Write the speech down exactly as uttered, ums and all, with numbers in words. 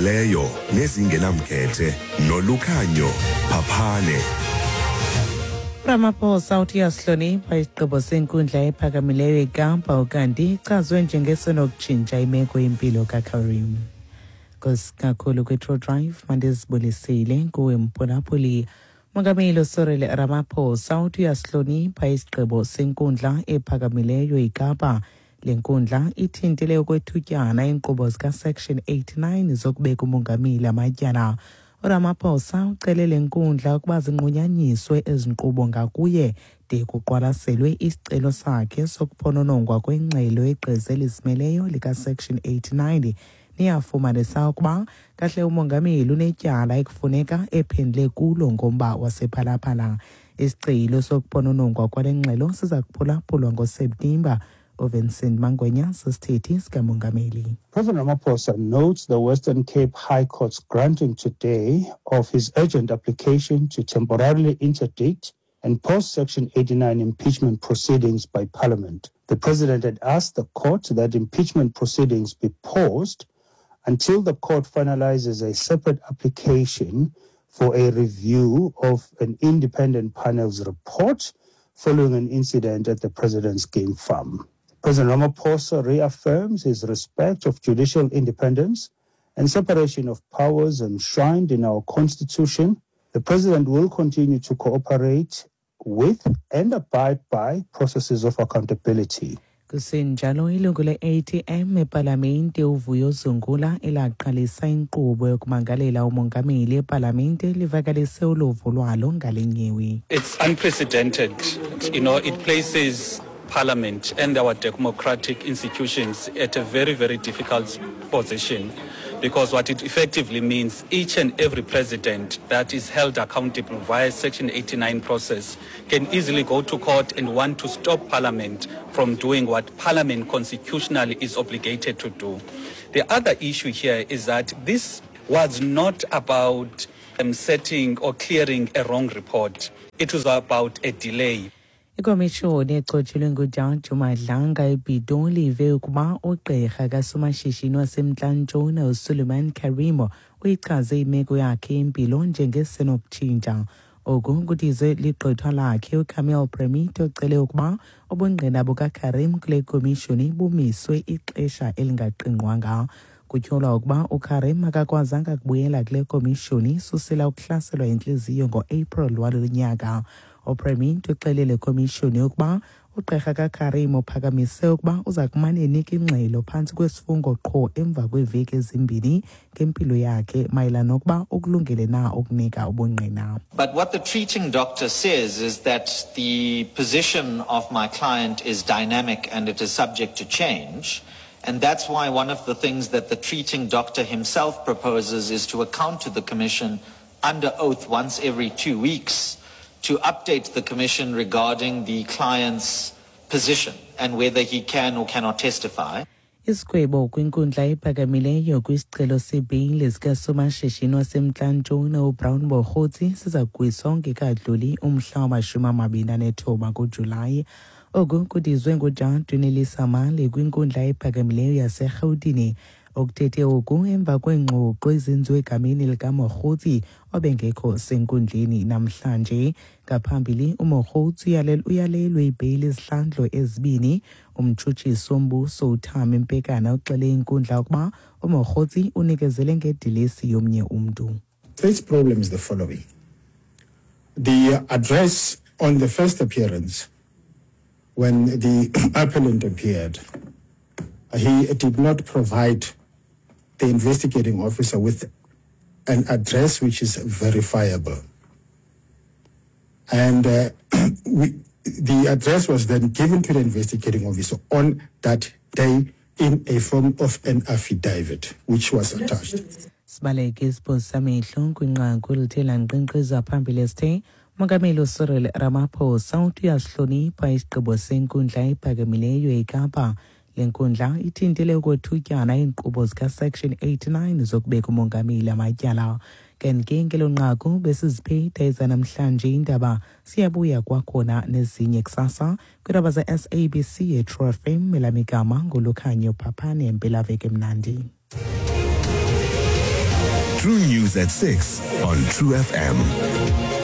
Ezizimeleyo nezingenamkhethe noLukhanyo Phaphane. Ramaphosa uthi uyasihlonipha isigqibo senkundla ephakamileyo eKapa, ukanti ichazwe njengesenokutshintsha imeko yempilo kaKarim. Nkosi kakhulu kwi-True Drive, mandizibulisile kuwe mphulaphuli. Mongameli Cyril Ramaphosa uthi uyasihlonipha isigqibo senkundla ephakamileyo eKapa. Le nkundla ithintile okwethutyana iinkqubo zikaSection eighty-nine zokubeka umongameli amatyala. URamaphosa ucele le nkundla ukuba zinqunyanyiswe ezi nkqubo ngakuye de kuqwalaselwe isicelo sakhe sokuphononongwa kwengxelo yegqiza elizimeleyo likaSection eighty-nine niyafumanisa ukuba kahle umongameli unetyala ekufuneka ephendule kulo ngomba wasePhalaphala. Isicelo sokuphononongwa kwale ngxelo siza kuphulaphulwa ngoSeptemba. UVincent Mangwenya sisithethi sikamongameli. President Ramaphosa notes the Western Cape High Court's granting today of his urgent application to temporarily interdict and post Section eighty-nine impeachment proceedings by Parliament. The President had asked the court that impeachment proceedings be paused until the court finalizes a separate application for a review of an independent panel's report following an incident at the President's game farm. President Ramaphosa reaffirms his respect of judicial independence and separation of powers enshrined in our Constitution. The President will continue to cooperate with and abide by processes of accountability. Kusenjalo, ilungu le-A T M epalamente uVuyo Zungula elaqalisa inkqubo yokumangalela umongameli epalamente livakalise uluvo lwalo ngale nyewe. It's unprecedented. You know, it places Parliament and our democratic institutions at a very, very difficult position, because what it effectively means, each and every president that is held accountable via Section eighty-nine process can easily go to court and want to stop Parliament from doing what Parliament constitutionally is obligated to do. The other issue here is that this was not about um, setting or clearing a wrong report. It was about a delay. Ikomishoni echotshelwe nguJaji Madlanga ePitoli ive ukuba ugqirha kasomashishini waseMntla-Ntshona uSuleiman Karim uyichaze imeko yakhe yempilo njengesenokutshintsha. Oku kudizwe ligqwetha lakhe uCamille Premito ocele ukuba ubungqina bukaKarim kule komishoni bumiswe ixesha elingaqingqwanga. Kutyholwa ukuba uKarim akakwazanga kubuyela kule komishoni susela ukuhlaselwa yintliziyo ngo-April walo nyaka. UPremit uxelele komishoni ukuba ugqirha kaKarim uphakamise ukuba uza kumane enika ingxelo phantsi kwesifungo qho emva kweeveki ezimbini ngempilo yakhe mayelana nokuba ukulungele na ukunika ubungqina. But what the treating doctor says is that the position of my client is dynamic and it is subject to change. And that's why one of the things that the treating doctor himself proposes is to account to the commission under oath once every two weeks to update the commission regarding the client's position and whether he can or cannot testify. Isigwebo kwinkundla ephakamileyo kwisicelo sebheyile sikasomashishini waseMntla-Ntshona uBrown Mogotsi siza kugwiswa ungekadluli umhla wamashumi amabini anethoba kuJulayi. Oku kudizwe nguJaji uNelisa Mali kwinkundla ephakamileyo yaseRhawutini. Okuthethe oku emva kweengxoxo ezenziwe egameni likaMogotsi obengekho senkundleni namhlanje. Ngaphambili uMogotsi uyalelwe ibheyile izihlandlo ezibini. Umtshutshisi wombuso uThami Mpekana uxele inkundla ukuba uMogotsi unikezele ngedilesi yomnye umntu. This problem is the following. The address on the first appearance, when the appellant appeared, he did not provide the investigating officer with an address which is verifiable. And uh, we, the address was then given to the investigating officer on that day in a form of an affidavit, which was attached. Sibaleke isiphoso samehlo kwinqaku elithe lanqenqeza phambili esithe Mongameli Cyril Ramaphosa uthi uyasihlonipha isigqibo senkundla ephakamileyo eKapa. Le nkundla ithintele ukwethutyana iinkqubo zikaSection eighty-nine zokubeka umongameli amatyala. Kanti ngelo nqaku besiziphethe ezanamhlanje iindaba, siyabuya kwakhona nezinye kusasa kwiindaba ze-S A B C eTrue F M. Elamigama nguLukhanyo Phaphane. Mpelaveki emnandi. True News at six on True F M.